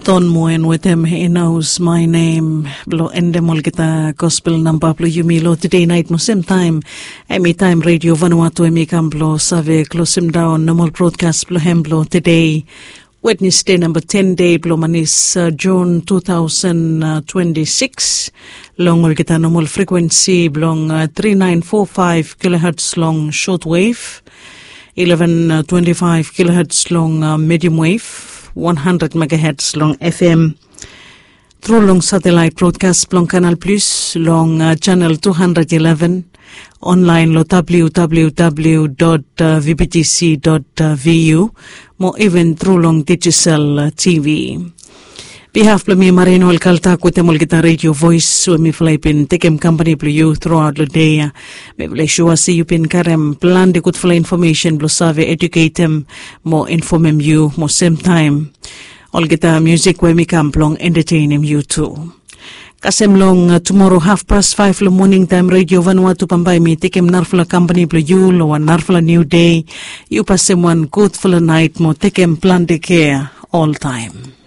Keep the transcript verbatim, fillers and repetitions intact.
Ton moen wetem inaus my nem. Blong endem olgeta gospel namba blong yumi long tedei nait mo sem taim. Em i taim redio vanua tu em i kam blong save klosim daun nomal brodkas blong hem blong tedei. Wednesde namba ten dei blong manis, jun tu tausen twenti sikis. Long olgeta nomal frekuensi blong tri nain fo faiv kiloherts long shotwave, eleven twenti faiv kiloherts long medium wave, wan handred megaherts long fm. Tru long satelait brodkas blong kanal plis long chanel tu handred eleven, onlain long www dot vbtc dot vu, mo iven tru long digisel tv. Bihaf blong mi marino el kaltak wetem olgeta redio vois we mifala i bin tekem kampani blong yu truaot long dei ya. Mifala i sua se yu bin karem planti gudfala infomesen blong save eduketem mo infomem yu mo semtaim olgeta musik we mi kam blong entetenim yu tu. Kasem long tumoro hafpas faiv long moning taim redio vanua tu bambae mi tekem narafala kampani blong yu long wan narafala niu dei. Yu pasem wan gudfala nait mo tekem planti kea oltaim.